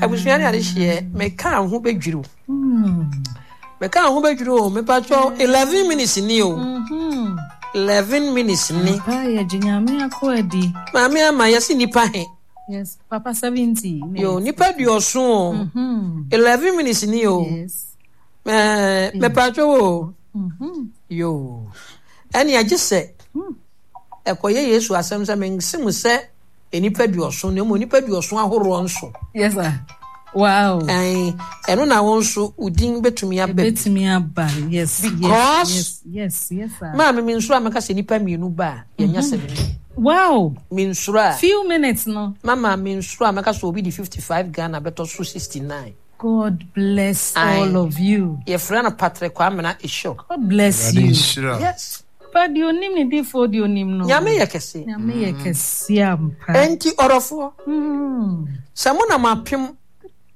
Abusua ne adehyeɛ meka ho bɛdwiriw meka ho bɛdwiriw o mepatwɔ 11 minutes ni o 11 minutes ni. Maame ama yɛse nipa he. Yes, papa 70. Yo, nipa duɔso o. 11 minutes ni o. Yes. Mepatwɔ o. Yo. Ɛne agye sɛ ɛkɔyɛ Yesu asɛm sɛ mense mo sɛ nnipa duɔson na mmom nnipa duɔson ahoroɔ nso. Yes sir. Wow. Ɛno na wo nso wo din bɛtumi aba. Bɛtumi aba. Yes. Because yes, yes, yes, sir. Maame mi nsuro a mɛka sɛ nnipa mmienu ba a yɛnyɛ 70. Wow. Mi nsuro a. Few minutes no. Mama mi nsuro a mɛka sɛ obi di 55 Ghana bɛtɔ so 69. God bless all of you. Yɛfrɛ no Patrick Kwamena Esho. God bless you. Yes. Pa deɛ onim ne difoɔ deɛ onim no. Nyame yɛ kɛse. Nyame yɛ kɛse ampa. Enti ɔdɔfoɔ, sɛ mo nam apem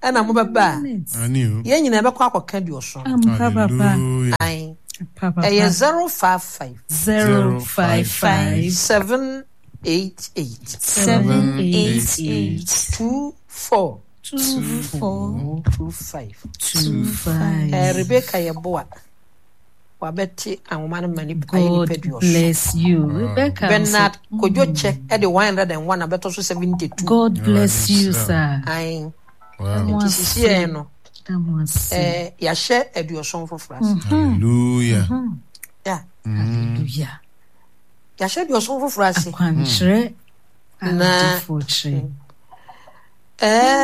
ɛna mo bɛba a, yɛn nyinaa bɛkɔ akɔka duɔson. Ampa papa. Ae. Ɛyɛ 055. 055. 788. 788. 24. 24. 25. 25. Rebecca Yeboah. Wabɛte anwoma no ma nipa ayɛ nipa God duɔson. bless you. Rebecca. Bernard Kojo Kyɛ ɛde 101 abɛtɔ so 72. God bless you, sir. Ae. Wow. Nti sisi yɛn no, Da mo ase. yɛahyɛ aduɔson foforɔ ase. Hallelujah. Yeah. Hallelujah. Yɛahyɛ aduɔson foforɔ ase. Akwankyerɛ a Na- odifoɔ kyerɛ. Ɛɛ.